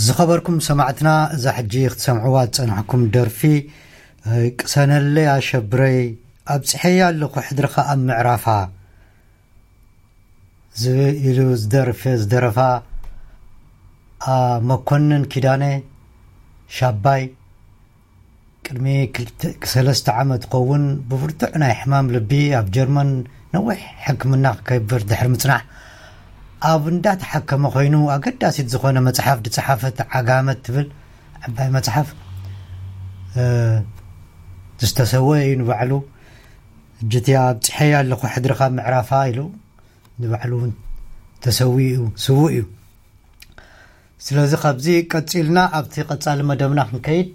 ዝኸበርኩም ሰማዕትና፣ እዛ ሕጂ ክትሰምዕዋ ዝጸናሕኩም ደርፊ፣ እ፣ ቅሰነለይ ኣሸብረይ፣ ኣብጽሐያ ኣለኹ ሕድርኻ ኣብ ምዕራፋ ዝብል ኢሉ ዝደርፈ-፣ ዝደረፋ፣ ኣ፣ መኮንን ኪዳነ ሻባይ ቅድሚ ክልተ፣ ሰለስተ ዓመት ክኸውን ብብርቱዕ ናይ ሕማም ልቢ ኣብ ጀርመን ነዊሕ ሕክምና ክገብር ድሕሪ ምጽናሕ፣ ኣብ እንዳተሓከመ ኮይኑ ኣገዳሲት ዝኾነ መጽሓፍ ዝጸሓፈት ዓጋመት ትብል ዓባይ መጽሓፍ፣ እ፣ ዝተሰወ እዩ ንባዕሉ። ሕጂ እቲ ኣብጽሐያ ኣለኹ ሕድርኻ ምዕራፋ ኢሉ ንባዕሉ እውን ተሰዊኡ፣ ስዉእ እዩ። ስለዚ ካብዚ ቀጺልና ኣብቲ ቀጻሊ መደብና ክንከይድ፣